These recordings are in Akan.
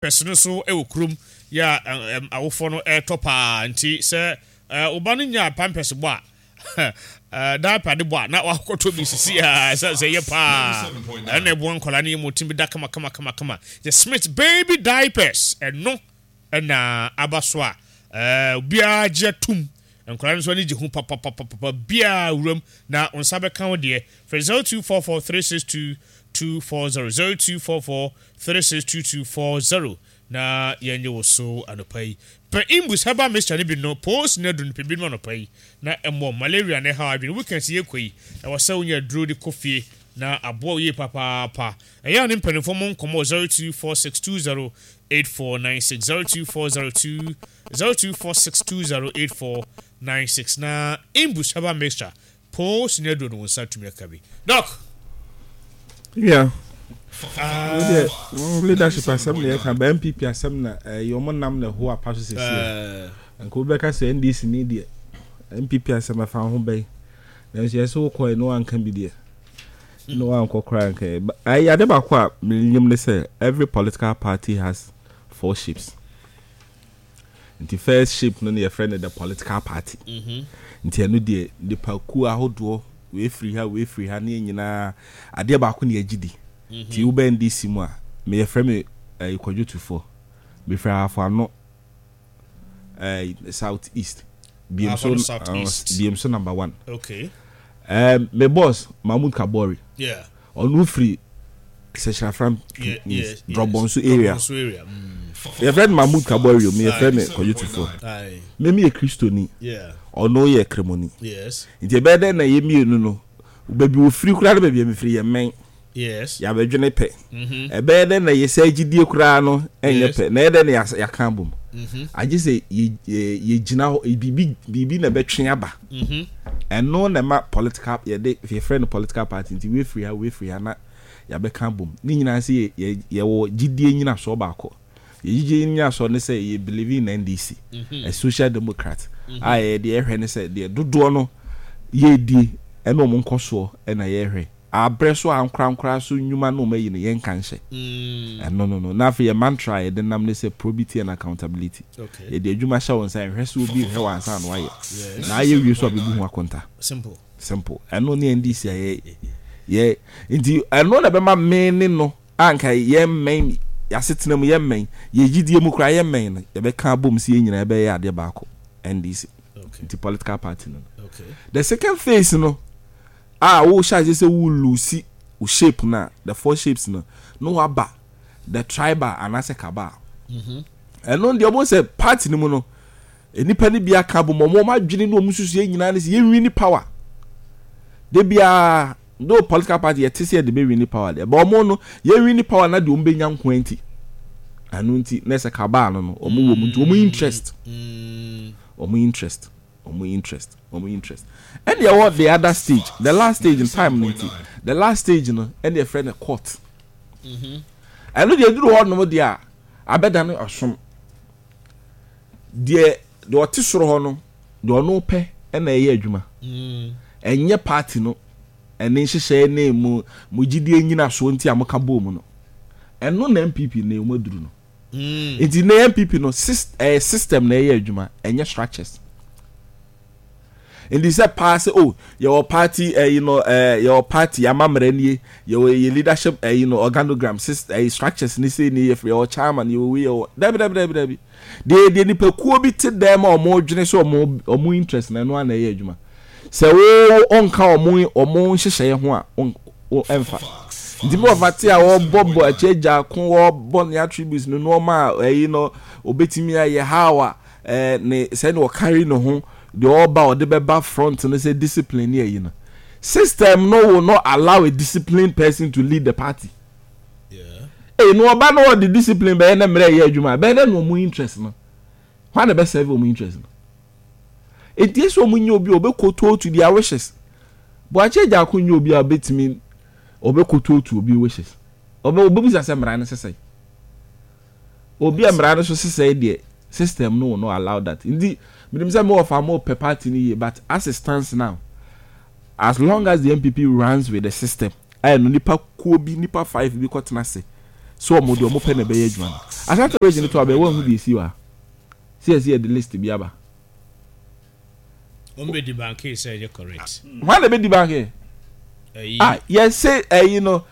Pɛs no nso wɔ kurom yɛ a awofoɔ no retɔ paa nti sɛ wo ba no nyaa pampɛs bɔ a diaper de bɔ a na wakɔtɔ bi sisi a ɛsɛ sɛ ɛyɛ paa ɛna ɛboa nkwadaa no yɛ mu tumi da kama kama kama kama. The Smith baby diapers ɛno ɛna aba so a obiara gye atum. Nkwadaa no nso ani gye ho papapapapa biara wuram na wo nsa bɛka wo deɛ. Frɛ 0244 362 240 0244 362240 na yɛnnye wo so anɔpa yi. Pɛ Imbus herbal mixture no bi no, post no aduru no pɛ bi nom anɔpa yi na ɛmmɔ malaria na ɛhaw adwene. Weekends yi yɛkɔ yi, ɛwɔ sɛ wonya aduro de kɔ fie na aboa wo yie papaapa. Ɛyɛ a ne mpanimfoɔ mo nkɔmmɔ 0246208496, 02402 0246208496 na Imbus herbal mixture Post ne aduro no wo nsa tumi aka bi. Doc. Yeah. Ah. Leadership asɛm na yɛka ba NPP asɛm na ɛyɛ ɔmo nam na ɛho apa so sɛsi. Eh. Nka wobɛka sɛ NDC ni deɛ NPP asɛm ɛfa ho bɛn. Nanso yɛsɛ wokɔɛ na wanka bi deɛ. Na wankɔ koraa nka. Ɛyɛ ade baako a menim ne sɛ every political party has four shapes. Nti first shape no na yɛfrɛ no the political party. Nti ɛno deɛ nipa kuo ahodoɔ, wei firi ha, wei firi ha, ne yɛn nyinaa adeɛ baako na yɛgye di. Nti woba NDC mu a, me yɛfrɛ me eh, Kwadwo Tufoɔ. Mefiri Ahafo Ano eh, South East. Biem so, South East. Biem so number one. Okay. Me boss Mahmood Kabori. Yeah. Ɔno firi Sɛkyerɛafram Drɔbɔnso area. Yɛfrɛ no Mahmood Kabori o, me yɛfrɛ me Kwadwo Tufoɔ. Me meyɛ Kristoni, ɔno yɛ Kremoni. Nti ɛbɛyɛ dɛn na yɛn mmienu no, baabi wɔfiri koraa ne baabi a mefiri yɛmmɛn. Yɛabɛdwene pɛ. Ɛbɛyɛ dɛn na yɛ saa gyidie koraa no nyɛ pɛ, na ɛyɛ dɛn na yɛaka abom? Agye sɛ yɛgyina hɔ, biribi biribi na ɛbɛtwe aba. Ɛno na ɛma political yɛde yɛfrɛ no political party nti wei firi ha wei firi ha na yɛabɛka abom. Ne nyinaa sɛ yɛwɔ gyidie nyinasoɔ baako. Yɛ gyidie nyinasoɔ ne sɛ yɛ believe in NDC, a social democrat a yɛ deɛ yɛhwɛ ne sɛ deɛ dodoɔ no yɛredie ɛne wɔn nkɔsoɔ na yɛhwɛ. Abrɛ so ankorankora so nnwuma na wɔayi no, yɛnka nhyɛ. Ɛno no no. Na afei yɛn mantra a yɛde nam ne sɛ probity and accountability. Yɛde adwuma hyɛ wo nsa, nhwɛ sɛ obi rehwɛ wo ansa na woayɛ. Na ayɛ wie nso a bɛbu ho akonta. Simple. Ɛno ne NDC a yɛ yɛ nti ɛno na ɛbɛma me ne no a nka yɛmmɛn yɛasetena mu yɛmmɛn yɛn gyidie mu koraa yɛmmɛn no yɛbɛka abom sɛ yɛn nyinaa yɛbɛyɛ adeɛ baako NDC. Nti political party no no. The second phase no a wo hyɛ aseɛ sɛ wo lusi wo shape no a, the four shapes no, na waba the tribal anaasɛ cabal. Ɛno deɛ ɔmo sɛ party no mu no, nnipa no bi aka abom, ɔmo ɔmo adwene ne ɔmo susuɛ nyinaa ne sɛ yɛn wini power. De biara, though political party yɛte sɛ yɛde bɛ wini power deɛ, but ɔmo no yɛn wini power na deɛ ɔmo bɛnya nko nti. Ɛno nti na ɛsɛ cabal no no, ɔmo wɔ mu nti ɔmo interest, ɔmo interest. Wɔn interest, wɔn interest. Ɛna ɛwɔ the other stage, the last stage in time no nti, the last stage no ɛna yɛfrɛ no court. Mhm. Ɛno deɛ eduru hɔ nom deɛ a abɛda no ɔsom. Deɛ deɛ ɔte soro hɔ no deɛ ɔno pɛ ɛna ɛyɛ adwuma. Mm. Ɛnyɛ party no ɛne nhyehyɛe ne mo mo gyidie nyinasoɔ nti a moka bɔɔ mu no. Ɛno na NPP na wɔn aduru no. Nti nnɛ NPP no ɛyɛ system na ɛyɛ adwuma ɛnyɛ structures. Nti sɛ paa sɛ oh yɛwɔ party ɛyi no ɛɛ yɛwɔ party amammerɛ nie yɛwɔ yɛ leadership ɛyi no organogram ɛyi structures ne sei ne yɛfrɛ yɛwɔ chairman yɛwɔ wei yɛwɔ dabi dabi dabi dabi deɛ deɛ nipakuo bi te dɛm a wɔn dwene sɛ wɔn wɔn interest na ɛno ara na ɛyɛ adwuma. Sɛ wo ɔnka ɔmo ɔmo nhyehyɛeɛ ho a wo ɛnfa. Nti me wɔfa te a ɔbɔ bɔ akyi agya ko ɔbɔ ne attributes ne nnoɔma a ɛyi no ɔbɛtumi ayɛ how a ɛɛ ne sɛ ne ɔkari ne ho deɛ ɔba ɔde bɛba front no sɛ discipline ne ɛyi no. System no will not allow a disciplined person to lead the party. Ee no ɔba no ɔde discipline bɛyɛ na mmerɛ ɛyɛ adwuma bɛyɛ dɛ na ɔmo interest no. Hwan na ɛbɛ serve ɔmo interest no? Enti ese ɔmo nyɛ obi a ɔbɛkoto to their wishes. Boakye Agyarko nyɛ obi a ɔbɛtumi ɔbɛkoto to obi wishes. Ɔbɛ ɔbɛbisa sɛ mmara no sesɛe. Obi a mmara no so sesɛe deɛ system no will not allow that. Nti menim sɛ me wɔfa mo pɛ party no yie but as it stands now as long as the NPP runs with the system a ɛno nipa kuo bi nipa five bi kɔtena ase So wɔn deɛ wɔn pɛ na ɛbɛyɛ adwuma no. Ashanti region to abɛn wɔn ho deɛ esi wɔ ha. Sɛ yɛsi yɛde list bi aba. Wɔn bɛ di banke sɛ ɛyɛ correct. Wɔn na bɛ di banke. Ah yɛse ɛyi no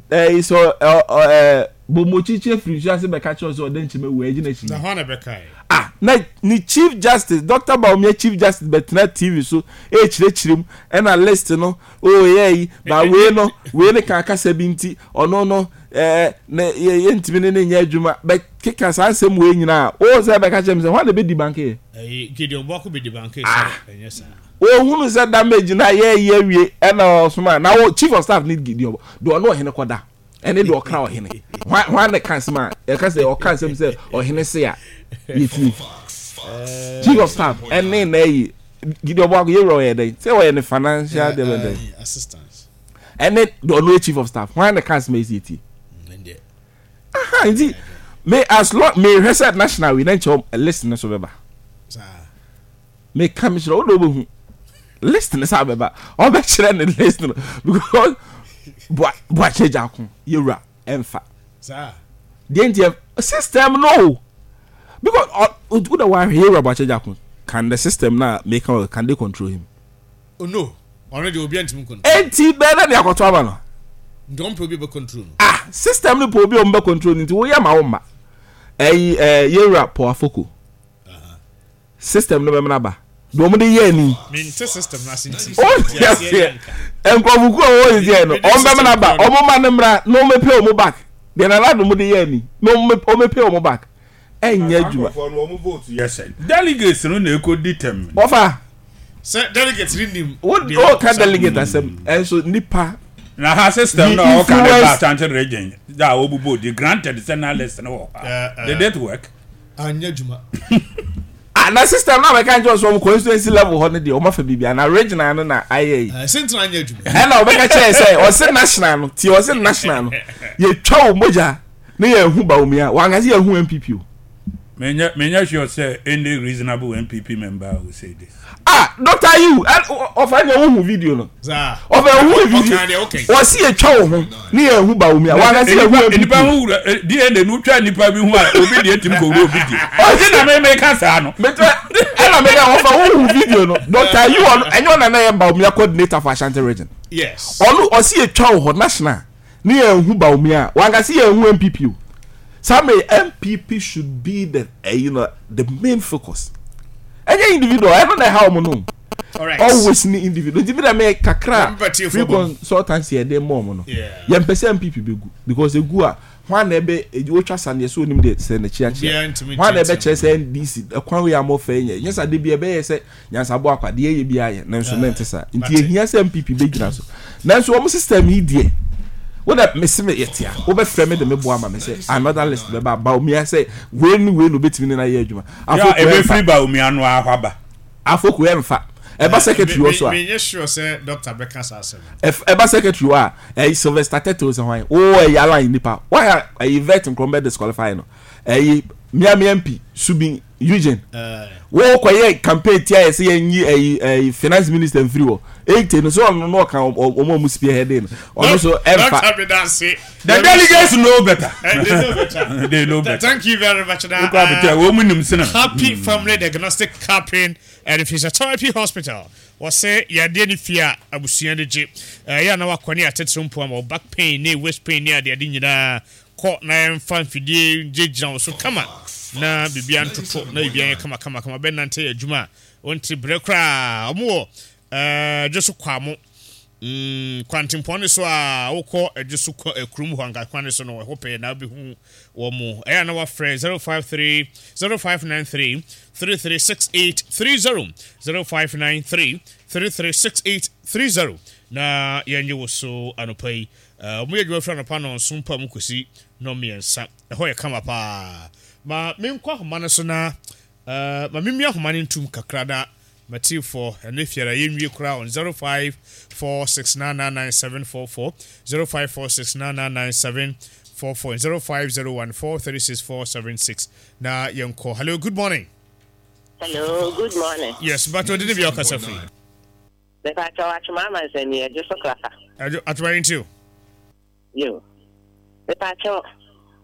ɛyi sɛ ɔ ɔ ɛɛ bomokyikyi efiri nsu ase bɛka kyerɛ sɛ ɔde nkyɛn ewu ɛgyina akyi. Na hɔn na bɛka yɛ. Ah na ne chief justice Doctor Bawumia chief justice bɛtena TV so ɛrekyerɛkyerɛ mu ɛna list no oh yɛ yi ba wei no wei ne kan kasa bi nti ɔno no ɛɛ ne yɛ yɛntumi ne ne nyɛ adwuma bɛ keka saa nsɛm wei nyinaa o sɛ bɛka kyerɛ mi sɛ hɔn na bɛdi banke yɛ. Ɛyi Gideon Boako bɛdi banke sɛ ɛnyɛ saa. Ohunu sɛ damage no a yɛɛyɛ awie ɛna ɔsoma na wo chief of staff ne Gideon deɛ ɔne ɔhene kɔda ɛne deɛ ɔkra ɔhene hwan hwan na ɛka asɛm a ɛka sɛ ɔka asɛm sɛ ɔhene se a yɛtie chief of staff ɛne na ɛyi Gideon Boako yɛwura ɔyɛ dɛn sɛ ɔyɛ ne financial deɛ bɛn dɛn ɛne deɛ ɔno yɛ chief of staff hwan na ɛka asɛm a yɛsi yɛtie aha nti me as long mehwɛ sɛ national wei na nkyɛn list no so bɛba. Meka mekyerɛ wo na wobɛhu list no sɛ abɛba ɔbɛkyerɛ ne list no because boakyɛ gya ko yɛwura ɛmfa deɛ nti system no because wo da wahwɛ yɛwura boakyɛ gya ko can the system na meka can they control him? Oh no ɔno deɛ obi antumi control enti bɛɛ dɛ ne akɔtɔ ama no nti ɔmpɛ obi bɛ control no ah system no pɛ obi a ɔmbɛ control no nti woyɛ ma wo mma ɛyi ɛɛ yɛwura Paul Afoko System no bɛmena ba. Deɛ wɔn de yɛ ni. Mente system no ase nti. O ti aseɛ. Nkurɔfokuo a wɔwɔ sisi yɛ no, wɔn bɛmena ba. Wɔn ma no mmra na wɔn bɛ pay wɔn back. Deɛ Nana Addo mo de yɛ ni na wɔn bɛ pay wɔn back. Ɛnyɛ adwuma. Nkurɔfoɔ no wɔn vote yɛ sɛn? Delegates no na ɛkɔ determine. Wɔfa. Sɛ delegate ni nim. Wo o ka delegate asɛm ɛnso nipa. Na ha system na ɔka ne ba Ashanti region da a wɔbobɔ di granted sɛ na list no wɔ hɔ. Did it work? Anyɛ adwuma. Ah, na system na bɛka nkyɛn sɛ wɔn constituency level hɔ no deɛ wɔn afa biribi na regional no na ayɛ yi. Ɛsɛ ntina anyɛ adwuma. Ɛna wɔbɛka kyerɛ sɛ ɔse national no tie ɔse national no yɛtwa wo mogya ne yɛn hu Bawumia wɔn ankasa yɛn hu NPP o. Menyɛ menyɛ sure sɛ any reasonable NPP member will say this. Ah, Dr. Ayew, ɔfa deɛ wohu video no. Ɔfa wohu video. Wɔsi yɛtwa wo ho ne yɛn hu Bawumia. Wɔn ankasa yɛn hu NPP. Nipa ho wura DNA no twa nipa bi ho a obi deɛ tumi kɔ wura obi deɛ. Ɔsi na mi mi ka saa no. Mɛtɛ ɛna mi ka ɔfa wohu video no. Dr. Ayew ɔno ɛnyɛ ɔna na yɛ Bawumia coordinator for Ashanti region. Yes. Ɔno ɔsi yɛtwa wo hɔ national. Ne yɛn hu Bawumia a, wankasa yɛn hu NPP o. Saa mmerɛ yi NPP should be the eh, you know, the main focus. Ɛnyɛ individual, ɛno na ɛha wɔn no. Always ne individual. Nti mi dɛ mi kakra free consultancy ɛde mɔ wɔn no. Yɛn pɛ sɛ NPP bɛ gu because egu a hwan na ɛbɛ wotwa sa neɛ sɛ onim deɛ sɛ n'akyi akyea. Hwan na ɛbɛ kyerɛ sɛ NDC ɛkwan wei a mo fɛ nyɛ. Nyɛ sa de bi ɛbɛyɛ sɛ Nyansabɔ akwa, deɛ ɛyɛ biara yɛ, nanso na ɛnte saa. Nti ɛhia sɛ NPP bɛgyina so. Nanso wɔn system yi deɛ, wo dɛ mese me yɛte a, wobɛfrɛ me de me boa ma me sɛ another list bɛba Bawumia sɛ wei ne wei na obɛtumi ne no ayɛ adwuma. Afoko ɛmfa. Ɛbɛfiri Bawumia no ara hɔ aba. Afoko ɛmfa. Ɛba secretary hɔ so a. Menyɛ sure sɛ doctor bɛka saa asɛm no. Ɛba secretary hɔ a, ɛyi Sylvester Tete sɛ hwan, wo ɛyi align nipa, why a ɛyi vet nkorɔm bɛ disqualify no. Ɛyi Miami MP Subin Eugene wo kɔyɛ campaign tia yɛ sɛ yɛn yi ɛyi ɛyi finance minister nfiri hɔ ete no so ɔno no ɔka ɔmo ɔmo spearhead no ɔno so ɛnfa. The delegates know better. They know better. They know better. Thank you very much. Na, Happy Family Diagnostic Campaign and Physiotherapy Hospital. Wɔsɛ yadeɛ ne fie a abusua de gye. Ɛyɛ a na wakɔ ne atetere mpo ama back pain ne waist pain ne adeade nyinaa. Kɔ na yɛmfa mfidie ngyinagyina wo so kama na biribiara ntoto na biribiara nyɛ kama kama kama. Bɛnante yɛ adwuma a wonte brɛ koraa. Wɔn wɔ eh, Adwo so Kwamo. Mm, kwantempɔn no so a wokɔ Adwo so kɔ eh, kurom hɔ anka kwan no so no ɛhɔ pɛɛ na wobɛhu wɔn mo. Ɛyɛ a na wafrɛ 053 0593 336830 0593 336830 na yɛnye wo so anɔpa yi. Wɔyɛ adwuma firi anɔpa nnɔnson pa mu kɔsi nnɔnmiɛnsa. Ɛhɔ yɛ kama paa. Ma menkɔ ahoma no so na ma memmia ahoma no ntom kakra na m'atiefoɔ ɛne fiara yɛnwie koraa on 0546999744, 0546999744, 0501436476 na yɛnkɔ. Hello, good morning. Hello, good morning. Yes, but ɔde ne bia ɔkasa firi. Mepakyɛw Atwoma Amansani, Adwo so Klapa. Adwo, Atwoma yɛntie o. Yo. Mepakyɛw,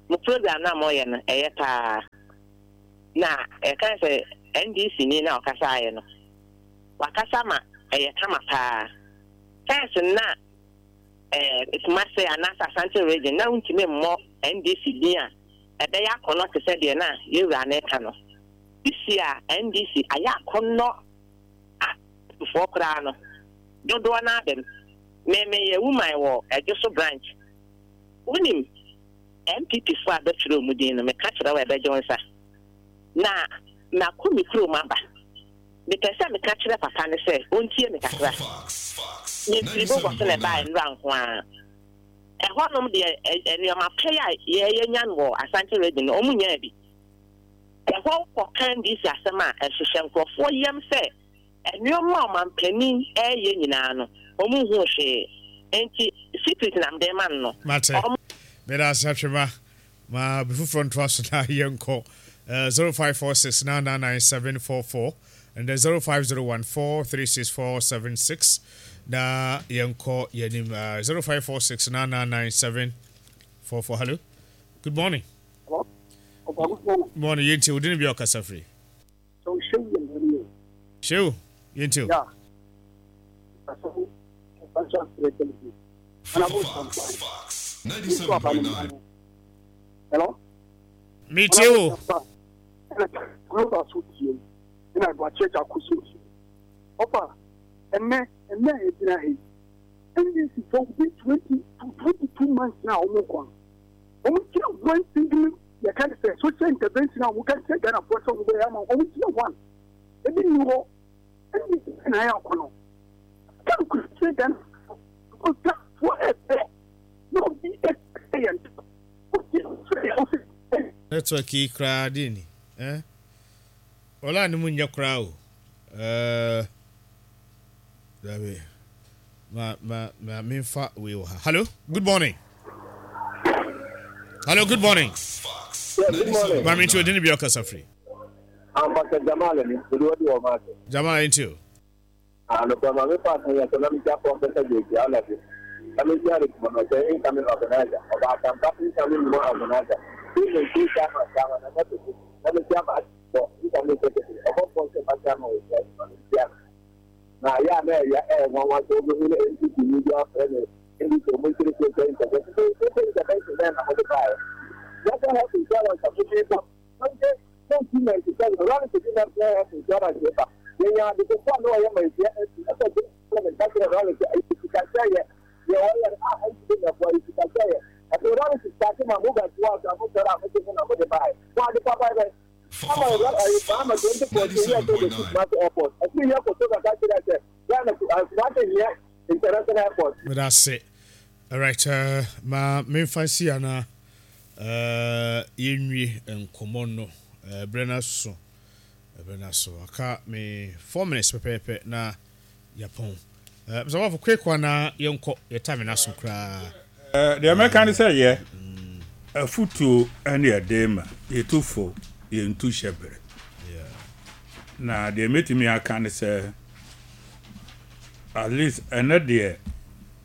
Mo program no a moyɛ no ɛyɛ paa. Na yɛka sɛ NDC ni no a ɔkasaeɛ no, wakasa ma ɛyɛ kama paa. First no na eh, Kumase anaasɛ Asante region na wontumi mmɔ NDC din a ɛbɛyɛ akɔnnɔ te sɛ deɛ na yɛwura no reka no. Sisi a NDC ayɛ akɔnnɔ a foɔ koraa no dodoɔ no ara bɛm. Me meyɛ woman wɔ Adwoso branch. Wonim NPP foɔ a bɛtwerɛ wɔn din no, meka kyerɛ wo a ɛbɛgye wo nsa. Na makɔ me kurom aba. Mepɛ sɛ meka kyerɛ papa no sɛ ɔntie me kakra. Mefiri Bogor so na ɛbaeɛ nnora nko ara. Ɛhɔnom deɛ nneɛma pa yi a yɛanya no wɔ Asante region no, wɔnnyaa bi. Ɛhɔ wokɔka NDC asɛm a, ɛhyehyɛ nkurɔfoɔ yam sɛ nneɛma a ɔmampanin reyɛ nyinaa no, wɔnhuu hwee. Enti secret na mede rema no no. Mate. Meda ase Atwema. Ma obi foforɔ ntoa so na yɛnkɔ. 0546 999 744 and then 0501 436 476 na yɛnkɔ yɛnim. 0546 999 744. Hello. Good morning. Hello. Good morning. Morning. Yɛntie wo din bi a ɔkasa firi. So Shehu yɛ mmerɛ yɛ. Shehu, yɛntie o. Yeah. Asafo Financial Secretary. Honorable Sampa. Yesu aba ne mma no. Hello? Metie o. Ɛna Global so tie. Ɛna Aduakyɛ Gyako so tie. Ɔfa, ɛnɛ, ɛnɛ a yɛgyina ha yi, NDC fo within 20 to 22 months na wɔn kɔ no. Wɔn gyina one single yɛka ne sɛ social intervention a wɔka kyerɛ Ghanafoɔ sɛ wɔbɛyɛ ama wɔn gyina one ebi nni hɔ ɛne na ayɛ akɔnɔ ka nokora kyerɛ Ghanafoɔ because Ghanafoɔ ɛpɛ na obi ɛpɛ yɛn obi ɛfrɛ yɛn ɔsɛ. Network yi koraa deɛ ni eh Ɔlaa ne mu nyɛ koraa o eh Dabi. Ma ma ma memfa wei wɔ ha. Hello, good morning. Hello, good morning. Yeah, good morning. Maame nti odi ne bi ɔkasa firi. Ambassador Jamal ni, odi wadi wɔ maase. Jamal nti o. Anokwa maame fa asan yɛ so na mekyia Professor JK Alabi. Na mekyia Richmond ɔsɛ incoming organizer, ɔbaatampa incoming woman organizer, Stephen K. Chairman Chairman Nana Toku, na mekyia Maame incoming secretary, ɔbɔfoɔ nso ma chairman wɔ wiase ma mekyia no. Na ayɛ a na ɛyɛ ɛyɛ nwanwa sɛ wobɛhu na NPP ni bi afrɛ no NDC ɔmo nkyerɛ social intervention. Social intervention bɛn na mode baeɛ? National health insurance a mode ba 1997 Rawlings de national health insurance ba yɛnya ade kofo a na ɔyɛ Manhyia MP ɛsɛ sɛ parliament ka kyerɛ Rawlings sɛ ɛyɛ sikahyɛeɛ deɛ ɔyɛ no a NPP na ɛboa yɛ sikahyɛeɛ. Afei Rawlings starte ma mobile toa so a mosɔre a mode mo na mode baeɛ. Mo ade papa bɛn? Ama ewura ayi Mahama 2014 yɛ sɛ obesi Kumasi airport. Ɛfiri yɛ kɔ Togo ka kyerɛ sɛ Ghana Kumasi nyɛ international airport. Meda ase. Alright, ma memfa nsi ha na yɛnwie nkɔmmɔ no. Berɛ no aso. Berɛ no aso. Aka me 4 minutes pɛpɛɛpɛ na yɛapɔn. Mr. Bafo, quick one na yɛnkɔ. Yɛ time no aso koraa. Deɛ mɛka ne sɛ yɛ afutuo ne ɛde ma yɛtu fo yɛntu hyɛ berɛ na deɛ mɛtumi aka ne sɛ at least ɛnɛ deɛ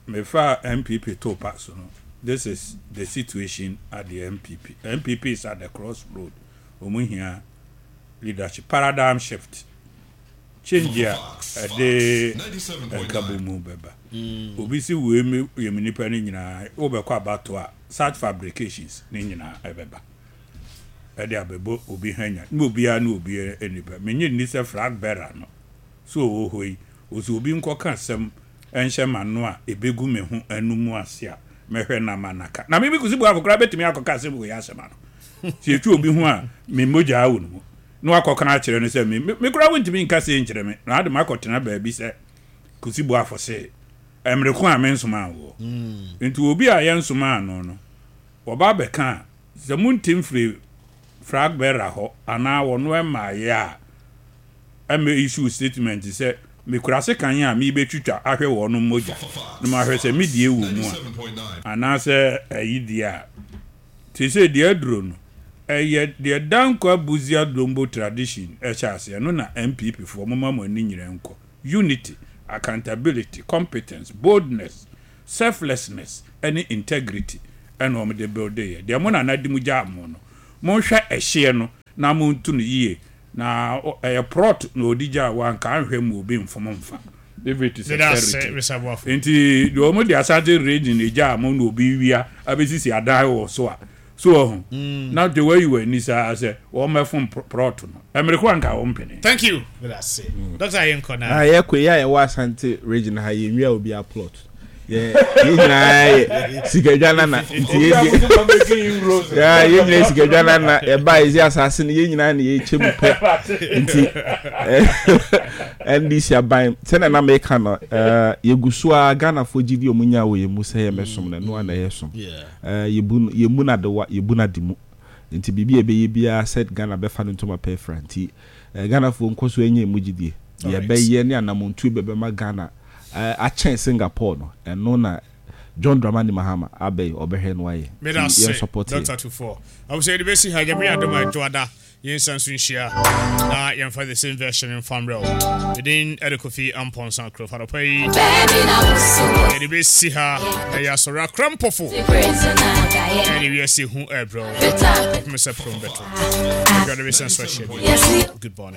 mefa NPP to pa so no, this is the situation at the NPP. NPP is at the crossroad. Wɔn hia leadership paradigm shift, change a ɛde nkabomu bɛba. Obi si wei mi yɛ mi nipa no nyinaa wobɛkɔ abato a, such fabrications ne nyinaa ɛbɛba ɛde abɛbɔ obi hanya ne obiara ne obi nipa. Menye nni sɛ flag bearer no so ɔwɔ hɔ yi ɔsɛ obi nkɔka asɛm ɛnhyɛ m'ano a ɛbɛgu me ho anum ase a mɛhwɛ na ma naka na meme Kusi Boafo koraa bɛtumi akɔka asɛm wei asɛm ano sɛ ɛtwa obi ho a me mogyaa wɔ no mu na wakɔka akyerɛ no sɛ me me koraa wontumi nka sei nkyerɛ me na ade makɔtena baabi sɛ Kusi Boafo se mmere ko a mensomaa woɔ. Nti obi a yɛnsomaa no no wɔba abɛka a sɛ monte mfiri flag bearer hɔ anaa wɔno ɛmmaeɛ a ɛmmɛ issue statement sɛ mekura sekan a merebɛtwitwa ahwɛ wɔn mogya na mahwɛ sɛ me deɛ wɔ mu a anaasɛ ayi deɛ a te sɛ deɛ aduro no ɛyɛ deɛ Dankwa Busia Dombo tradition ɛhyɛ aseɛ no na NPP foɔ moma mo ani nyerɛ nkɔ unity, accountability, competence, boldness, selflessness ɛne integrity. ɛna wɔn de buildeeɛ. Deɛ mo nana de mu gyaa mo no, monhwɛ ɛhyeɛ no na monto no yie. Na ɛyɛ prɔt na ɔde gyaa wo a, nka anhwɛ mu obi mfom mfa. If it is a Meda ase, charity. Mr. Boafo. Nti deɛ wɔn de Asante region gyaa mo na obi wia abɛsisi adan wɔ so a, So wahu? Na nti wayi w'ani saa sɛ wɔmmɛfom prɔt no. Mmere ko a nka wompene. Thank you. Meda ase. Doctor yɛnkɔ na. Ah yɛkɔ yi a yɛwɔ Asante region ha yɛnwia obiara plot. Yɛ yɛn nyinaa yɛ sikadwa nana nti yɛ deɛ yeah, yɛn nyinaa sikadwa nana yɛba yɛsi asase no yɛn nyinaa na yɛkyɛ mu pɛ nti NDC aban sɛnea na meka no yɛgu so a Ghanafoɔ gyidi ɔmo nya wɔ yɛn mu sɛ yɛmmɛsom no ɛno a na ɛyɛ som. Eh, yɛbu no, yɛmmu no adewa, yɛbu no ade mu. Nti biribi a yɛbɛyɛ biara sɛ Ghana bɛfa no ntoma pa afira. Nti eh, Ghanafoɔ nkɔ so nyɛ ɛmu gyidie. Deɛ yɛbɛyɛ ne anamontuo bi a ɛbɛma Ghana eh, akyɛn Singapore no, ɛno na John Dramani Mahama aba yi, ɔbɛhwɛ na wayɛ. Meda Nti ase, yɛn support yɛ. Doctor Tuffour. Abusua yɛde bɛsi ha, Nyame yɛ adom a Dwoada Yɛnsan nso nhyia na yɛmfa the same version mfa mmerɛ wo. Medin ɛde Kofi Amponsah Kuro Anɔpa yi yɛde bɛsi ha na yɛ asɔre akora mpɔfo ɛne wiase hu ɛbrɛ wo. Kɔpem sɛ prom bɛto. Adwade bɛsan so ahyia bi. Good morning.